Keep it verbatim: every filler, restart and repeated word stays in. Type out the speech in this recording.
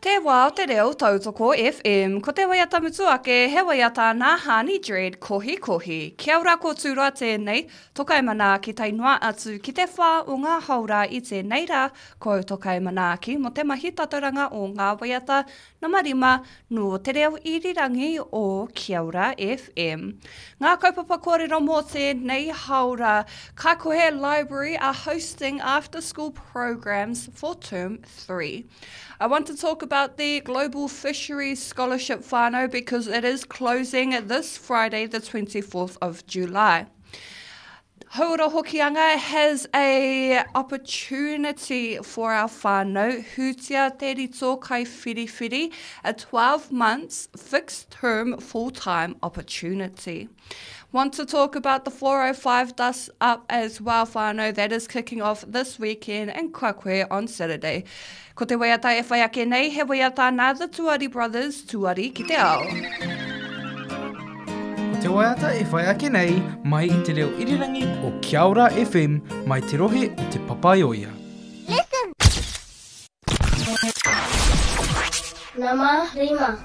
Te wā o te reo tautoko FM. Ko te waiata mutu ake, he waiata nā Hani Dread, Kohi Kohi. Kia ora ko Tūroa tēnei, tokai manaaki tae noa atu ki te whā o ngā haora i tēnei rā, ko au tokai manaaki mō te mahi tatauranga o ngā waiata nama rima nō te reo irirangi o Kia Ora FM. Ngā kaupapa kōrero mō tēnei haora, Kaikohe Library are hosting after school programs for term three. I want to talk about the Global Fisheries Scholarship whānau because it is closing this Friday, the twenty-fourth of July. Hauora Hokianga has a opportunity for our whānau, Hutia Te Rito Kai Whiriwhiri, a twelve months fixed term full-time opportunity. Want to talk about the four oh five Dust Up as well, whānau, that is kicking off this weekend in Kaikohe on Saturday. Ko te waiata e whai ake nei, he waiata nā the Tuari Brothers, Tuari ki te ao. Ko te waiata e whai ake nei, mai i te reo irirangi o Kia Ora F M, mai te rohe o Te Papaioea. Listen! Nama rima.